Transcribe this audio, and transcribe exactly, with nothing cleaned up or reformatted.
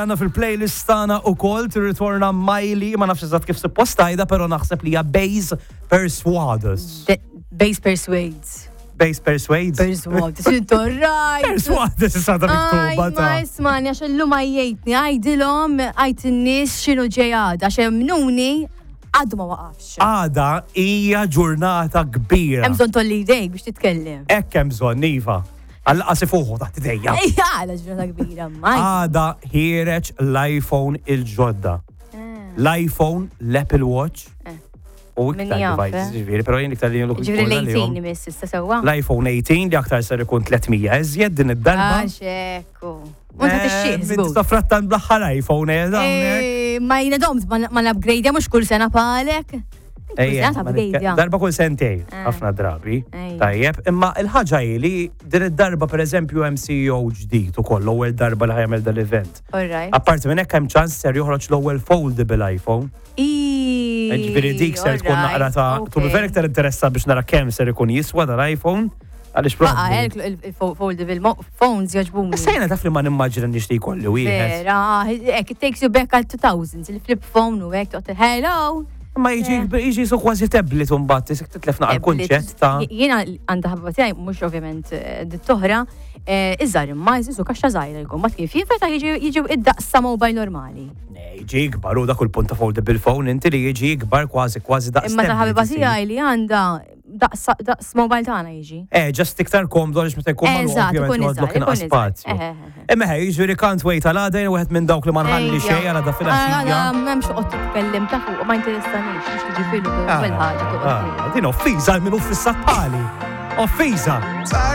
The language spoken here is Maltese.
Għandna fil-playlist tagħna ukoll tirritorna Miley, ma nafx eżatt kif suppost tgħidha, però naħseb li hija Base Persuaders. De- Base persuades. Base Persuades. Persuades. Intorrajt. Persuades issa ta' Aj, miktuba ma ta' ismani, għax illum għajjejtni, għajdilhom, għajt in-nies x'inhu ġej għada, għax emnuni għadu ma waqafx. Għada hija ġurnata kbira. Hemm bżonn tgħolli idejk biex titkellem. Hekk hemm bżonn, iva. Għall-qasi fuqu taħt idejja. Ejja, għala ġurnata kbira, ma. Għada ħiereġ l-iPhone il-ġodda. L-iPhone, l-Apple Watch. Eh. U Min iktar jaf, devices, eh? ġifieri, però jien iktar li jien Ġifieri l-tmintax imiss issa sewwa. L-iPhone tmintax li aktar ser ikun tliet mija iżjed din id-darba. Għax ekku. U ta' tixxieq, żgur. Ta' frattan bl-aħħar iPhone, eh, hawnhekk. Eh, Ma jiena domt ma l-upgrade mhux kull sena palek. Kull Ejja, sena ta' ma nitke- upgrade. Darba kull sentej, Eh. ħafna drabi. Ejja. Tajjeb, imma il-ħaġa hi li din id-darba, per eżempju, hemm C E O ġdid ukoll, l-ewwel darba li ħa jagħmel dal-event. Alright. Apparti minn hekk hemm ċans ser joħroġ l-ewwel foldable iPhone. Ġifieri dik ser tkun naqra ta' to be fair iktar interessa biex nara kemm ser ikun jiswa dal-iPhone. Għaliex Baqa, probabbli. Il-foldable phones jogħġbuni. Issa jiena taf li ma nimmaġina nixtieq jkolli wieħed. Vera, hekk, it takes you back għal two thousands, il-flip phone u hekk, toqgħod, hello. Ma jiġi jiġi su kważi tablet u mbagħad isek titlef naqra kunċett ta' Jiena għandha ħabba tiegħi, mhux ovvjament eh, dit toħra, eh, iżgħar imma jżisu kaxxa żgħira jkun, ma kif jinfetaħ jiġi jiġi id-daqs ta' mobile normali. Ne, jiġi ikbar u dak il-punt ta' foldable phone inti li jiġi ikbar kważi kważi daqs Imma ta' tablet ħabiba isir. tiegħi li għandha daqs daqs mobile tagħna jiġi. Eh, just iktar komdu għaliex meta jkun magħluq Eżatt, ovvjament ikun joħodlok iżgħar, inqas ikun iżgħar. spazju. Eh, eh, eh. Imma ħej, jiġifieri can't wait għal għada, jien wieħed minn dawk li ma nħalli Ejja. xejn għal għada filgħaxija. Għada m'hemmx toqgħod titkellem ta' fuq, ma interessanix, mhux tiġi filu Ah, kull ħaġa toqgħod ah, Din offiża minn uffissat pali. Offiża.